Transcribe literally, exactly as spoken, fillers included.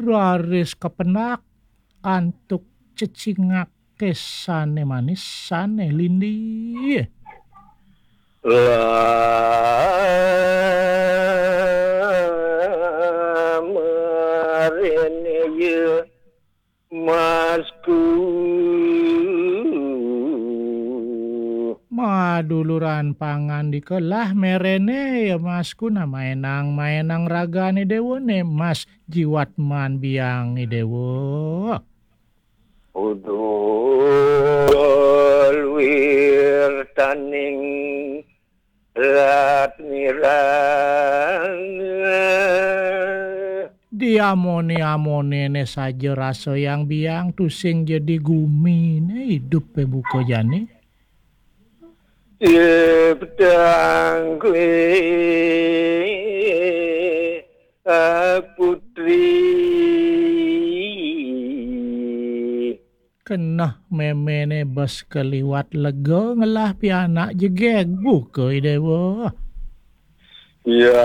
raris kepenak antuk cecingak kesane manis sane lindi. Lamarene ye masku. Maduluran pangan dikelah merene ya masku na maenang-maenang ragane dewane mas jiwat man biang i dewa. Udul wirtaning latmirang. Diamone-amonene saja rasa yang biang tusing jadi gumine idup pe buka jani. Ciptang kue putri. Keneh memene bes keliwat lega ngelah pianak jegeg buka i dewa. Ya